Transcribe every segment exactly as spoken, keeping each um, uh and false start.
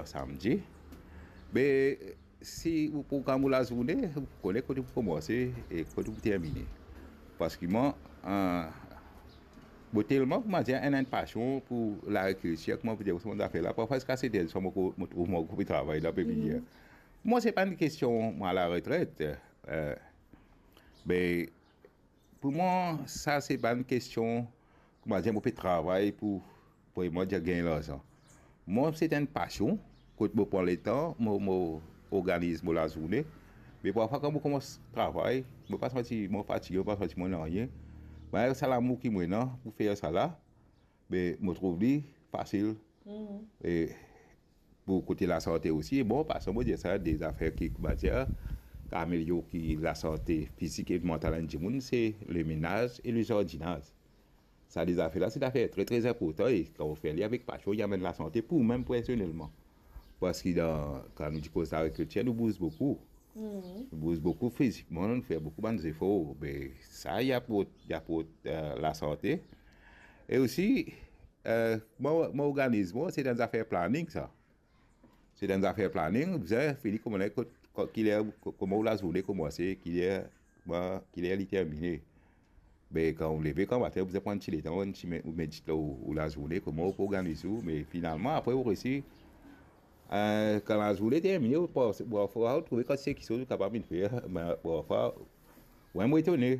samdi. Me si ou program ou lazourne, ou kone kot ou pou koumanse e kot ou pou termine. Parski mwa, eh, mo telman, koumadir, ena enn pasion pou lagrikiltir, kouma pou dir, sa bann zafer la. Parfwa ziska set er diswar, mo ko-, mo trouv mo ankor pe travay dan pepinier. Mwa, se pa enn kestion, mwa, laretret. Eh, me pou mwa, sa se pa enn kestion, koumadir, mo pe travay pou, pou mwa, dir, gagn larzan. Mwa, se enn pasion, kot mo pran letan, mo, mo organiz mo lazourne. Me parfwa, kan mo koumans travay, mo pa santi mo fatige, mo pa santi mo nanye. Me sa lamour ki mo ena pou fer sa la, me mo trouv li fasil. E pou kote lasante osi, bon, parski mo dir sa, de zafer ki, koumadir, ki amelior ki lasante fizik e mantal enn dimoun, se lemenaz e lezardinaz. Sa de zafer la, se zafer tre, tre inportan, e kan ou fer li avek pasion, li amenn lasante pou ou mem personelman. Parski dan, kan nou ti koz lagrikiltir, nou bouz boukou. Nou bouz boukou fizikman, nou fer boukou bann zefor. Me sa, li aport, li aport, eh, lasante. E osi, eh, mo, mo organiz mwa, se dan zafer planning sa. Se dan zafer planning, bizin fini koumans kot, kot, ki ler, ko-, kouma ou lazourne koumanse, ki ler, ba, ki ler li termine. Me kan ou leve, kan matin, ou bizin pran ti letan, ou ti me-, ou medit lor ou, ou lazourne, kouma ou pou organiz ou, me finalman, apre ou resi, eh, kan lazourne termine, ou pa, parfwa ou trouve kan se kiksoz ou kapav vinn fer, me parfwa, ou mem ou etone.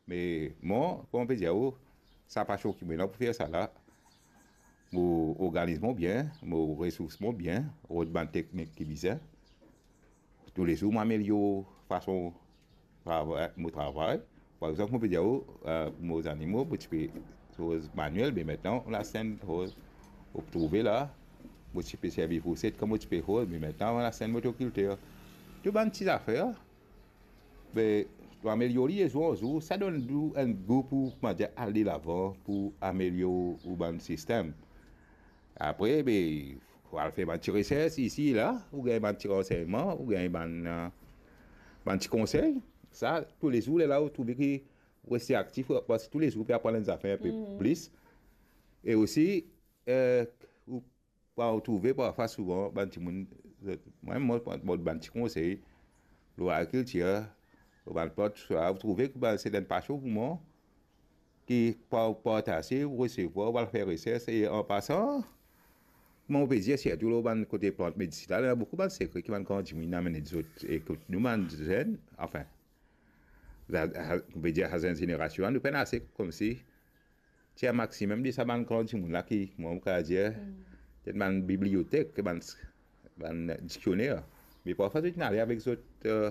Me mwa, kouma pe dir ou, sa pasion ki mo ena pou fer sa la, mo organiz mwa bien, mo resours mwa bien, rod bann teknik ki bizin. Toulezour mo amelior fason travay, mo travay. Par exanp, mo pe dir ou, eh, mo zanimo, mo ti pe koz maniel, me aster, lasenn, ou, ou trouve la, mo ti pe servi fourset kan mo ti pe koz, me aster, lasenn motrikilter. Tou bann ti zafer, be, to amelior li de zour an zour, sa donn ou enn gou pou, koumadir, al delavan, pou amelior ou bann sistem. Apre, be, ou al fer bann ti resers isi, la, ou gagn bann ti ransegnman, ou gagn bann, eh, bann ti konsey. Sa, toulezour, lerla ou trouve ki ou reste aktif, parski toulezour ou pe aprann enn zafer inpe plis. E osi, eh, ou pa ou trouve parfwa souvan bann dimoun, zot, mwa, mo, mo, mo bann ti konsey lor agrikiltir, lor bann plant, sa, ou trouve ki bann, se enn pasion pou mwa, ki pa, partaze, ou resevwar, ou al fer resers, e an pasan, kouma ou pe dir, sirtou lor bann kote plant medisinal, ena boukou bann sekre ki bann gran dimoun inn amenn zot, e kot nou bann zenn, anfin, la, la, nou pe dir, sa zenn zenerasion, nou pena ase koumsi tir maximum de sa bann gran dimoun la ki, mwa, mo kapav dir, se bann bibliotek, bann diksioner. Me parfwa, zot inn ale avek zot, eh,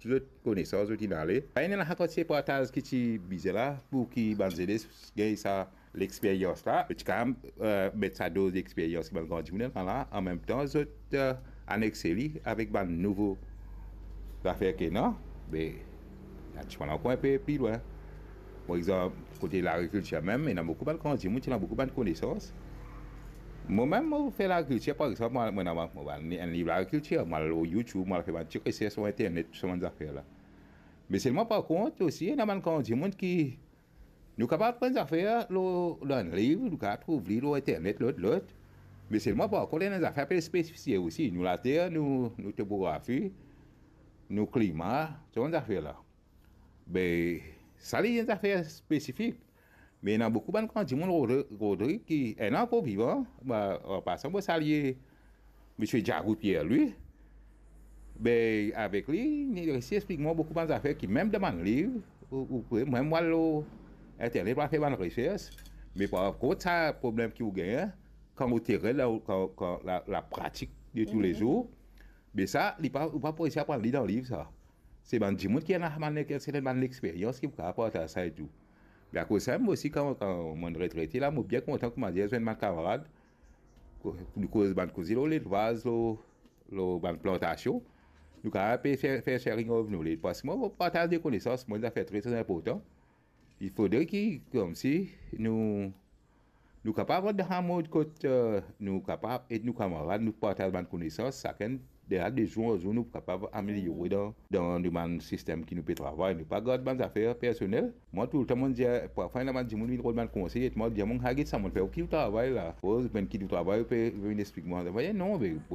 tou zot konesans, zot inn ale. Pa ena lakantite partaz ki ti bizin la, pou ki bann zenes gagn sa lexperyans la. Zot ti kapav, eh, met sa doz lexperyans ki bann gran dimoun ena la, anmemtan, zot, eh, anexe li avek bann nouvo zafer ki ena, be, ena ti pran ankor inpe pli lwin. Par exanp, kote lagrikiltir mem, ena boukou bann gran dimoun, ti ena boukou bann konesans. Mwa mem, mo fer lagrikiltir, par exanp, mo, mo, mo, mo, mo, enn liv lagrikiltir, mo al lor YouTube, mo al fer bann ti resers lor internet, tou sa bann zafer la. Me selman, par kont, osi, ena bann gran dimoun ki, nou kapav aprann zafer lor, lor enn liv, nou kapav trouv li lor internet, lot, lot. Me selman, par kont, ena zafer pe spesifize osi. Nou later, nou, nou topografi, nou klima, sa bann zafer la. Be, sa li enn zafer spesifik. Me ena boukou bann gran dimoun, Rodri-, Rodri, ki ena ankor vivan, ba, an pasan, mo salie Misie Diagout Pierre, li. Be, avek li, li resi explik mwa boukou bann zafer ki mem dan bann liv, ou, ou, mem mo al lor internet, mo al fer bann resers, me par kont sa problem ki ou gagn, kan ou terenn la, kan, kan la, lapratik de toulezour, be sa, li pa, ou pa pou resi aprann li dan liv sa. Se bann dimoun ki ena bann, ki ena bann lexperyans ki pou kapav partaz sa e tou. Me akoz sa mem osi, kan, kan mo retrete la, mo bien kontan, koumadir, zwenn bann kamarad, ko-, nou koz bann koze lor lelvaz, lor, lor bann plantasion. Nou kapav pe fer, fer sharing of knowledge. Parski mwa, partaz de konesans, mwa, enn zafer tre, tre inportan. Li fodre ki, koumsi, nou, nou kapav rant dan sa mod kot, eh, nou kapav ed nou kamarad, nou partaz bann konesans, sakenn de la, de zour an zour, nou kapav ameliore dan, dan nou bann sistem ki nou pe travay. Nou pa gard bann zafer personel. Mwa, toultan, mo dir, parfwa, ena bann dimoun vinn rod bann konsey, e mwa, dir, mo, get sa mo fer, ki ou travay la? Oz, bann ki ou travay, ou pe vinn explik mwa. Mo dir, non, be,